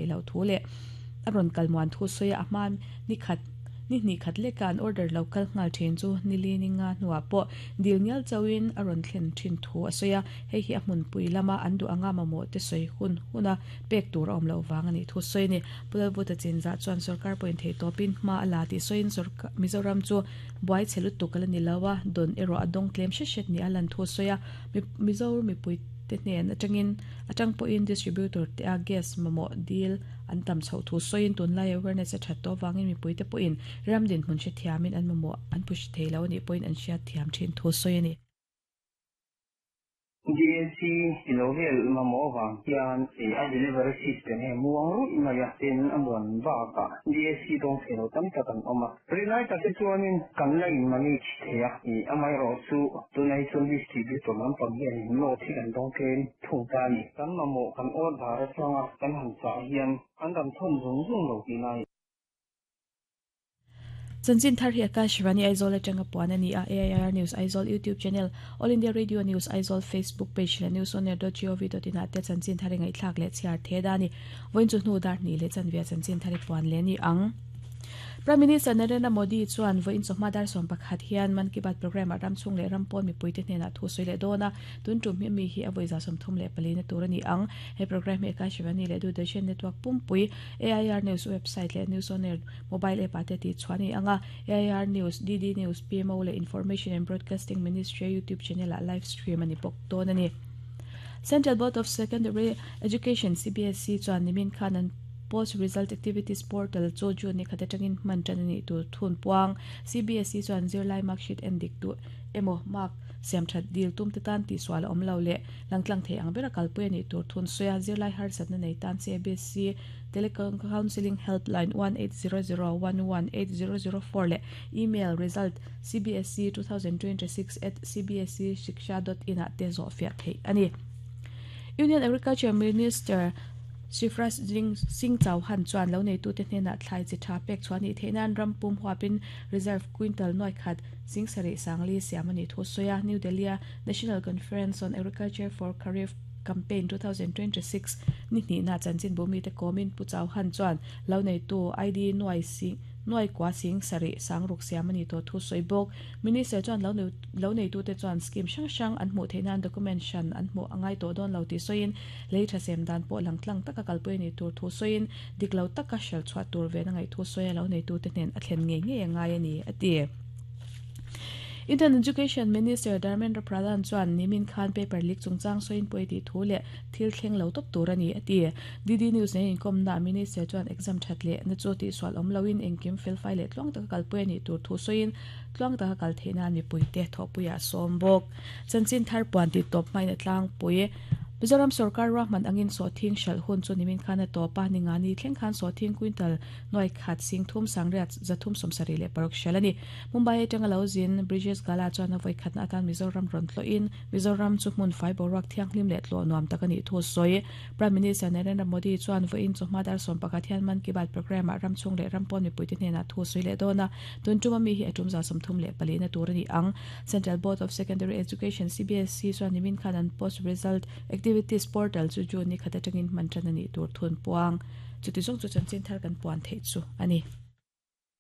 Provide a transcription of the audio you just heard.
theih loh thu leh a rawn kal muan thu sawi a, a hma ni khat ni hnih khat leka an order lo kal nghal thin chu nili ni nga hnuah pawh dil ngial chauhin a rawn thlen thin thu a sawi a, hei hi a hmunpui lama an duh anga mamawh te sawi hun huna pek tur a awm loh vang a nih thu sawi a ni. Pu Lalvuta Chinzah chuan sorkar pawhin theihtawpin hma a la tih sawiin sorkar Mizoram chu buai chhe lutuk a la ni lo a, dawn erawh a dawng tlem hret hret ni a lan thu sawi a, Mizo mipui te hnen atangin atang pawhin distributor te a gas mamawh dil an tam chhoh thu sawiin tunlai awareness a that tawh avangin mipui te pawhin ram dinhmun hrethiamin an mamawh an push thei lo anih pawhin an hriat thiam thin thu sawi a ni. DAC i lo vel mamawh avang hian a delivery system hi a muang ruih mai a, tin a muan bakah DAC dawng thei lo tam tak an awm a. Rinai tak hi chuanin kan la in manage thei a, amaherawh chu tunah hi chuan distributor lampang hianin note hi kan dawng tlem thung ta a ni. Kan mamawh kan order atanga kan han chah hian an rawn thawn zung zung lo tihna a ni. Chanchin thar hi Akashvani Aizawl atanga puan a ni a, AIR News Aizawl YouTube channel, All India Radio News Aizawl Facebook page leh newsonair.gov.in ah te chanchin thar i ngaihthlak leh chhiar the da a ni. Vawiin chu hnu dar hnih leh chanve a chanchin thar i puan leh a ni ang. Prime Minister Narendra Modi chuan vawiin chawhma dar 11 hian Mann Ki Baat programme ah ramchhung leh ram pawn mipuite hnenah thu sawi leh dawn a, tun tum hi mi hi a vawi 34 na tur a ni ang. He programme hi Akashvani leh Doordarshan network pumpui, AIR News website leh News On Air mobile app ah te tih chhuah a ni ang a, AIR News, DD News, PMO leh Information and Broadcasting Ministry YouTube channel ah live stream a ni bawk dawn a ni. Central Board of Secondary Education, CBSE, chuan nimin khan an Post Result Activities Portal chu June ni khat atangin hman tan a nih tur thun puang. CBSE chuan zirlai mark sheet en dik duh emaw mark siam that dil tum te tan tihsual a awm lo leh langtlang thei ang bera kalpui a nih tur thun sawi a, zirlai harsatna nei tan CBSE Telecounselling Helpline 1800 11 8004 leh email result cbse2026 at cbseshiksha dot in ah te zawhfiah theih a ni. Union Agriculture Minister Shivraj Singh Chauhan chuan lo neitute hnenah thlai chi tha pek chhuah nih theih nan ram pum huapin reserve quintal nuai khat sing sarih sangli siam a nih thu sawi a. New Delhi-a National Conference on Agriculture for Kharif Campaign 2026 ni hnihna chanchinbu mite kawmin Pu Chauhan chuan lo neitu ID nuai sing nuai kua sing sarih sangruk siam a ni tawh thu sawi bawk. Minister chuan lo lo neitute chuan scheme hrang hrang an hmuh theih nan document hran an hmuh a ngai tawh dawn lo tih sawiin lei tha sem dan pawh lang tlang taka kalpui a nih tur thu sawiin dik lo taka hralh chhuah tur ven a ngaih thu sawi a lo neitute hnen a thlen ngei ngei a ngai a ni a ti. Indian Education Minister Dharmendra Pradhan chuan nimin khan paper leak chungchang sawiin pawi tih thu leh thil thleng lo tawp tur a ni a ti. DD News nen inkawmnaah Minister chuan exam that leh na chu tihsual awm loin engkim felfai leh tluang taka kalpui a nih tur thu sawiin tluang taka kal theih nan mipuite thawhpuiah a sawm bawk. Chanchin thar puan tih tawp hmain a tlangpui. Mizoram sorkar ruahman angin sawhthing hralh hun chu nimin khan a tawp a, ningani thleng khan sawhthing quintal nuai khat sing thum sangriat zathum 76 hralh a ni. Mumbai atanga lo zin Brijesh Gala chuan a vawi khatna atan Mizoram rawn tlawhin Mizoram chu hmun fai boruak thianghlim leh tlawh nuam tak a nih thu a sawi. Prime Minister Narendra Modi chuan vawiin chawhma dar 11 hian Mann Ki Baat programme ah ram chhung leh ram pawn mipuite hnenah thu a sawi leh dawn a, tun tuma mi hi a tum 34 na tur a ni ang. Central Board of Secondary Education, CBSE, chuan nimin khan an Post Result Activities Portal chu June ni khat atangin hman tan a nih tur thun puang. Chuti zawng chu chanchin thar kan puan theih chu a ni.